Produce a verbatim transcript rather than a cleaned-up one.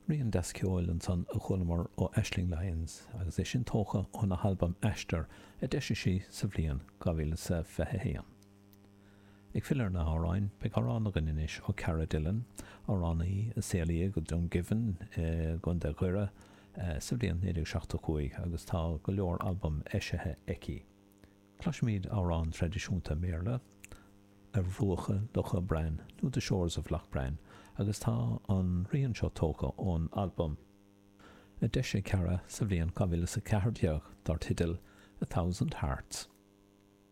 Rian deas ceoil ansan a chualamar ó Aisling Lyons agus é sin tógtha óna halbam Aistear a d'eisigh sí sa bhliain dhá mhíle is a fiche haon. Ag filleadh ar na hamhráin, beidh amhrán againn anois ó Cara Dillon, amhránaí a saolaíodh i Dungiven i gContae Dhoire sa bhliain naoi déag seachtó cúig agus tá go leor albam eisithe aici. Cloisfimid amhrán traidisiúnta Béarla, Ar Bhruacha Locha Bran nó The Shores of Loch Bran agus tá an rian seo tógtha ón albam a d'eisigh Cara sa bhliain dhá mhíle is a ceathair déag dar teideal A Thousand Hearts.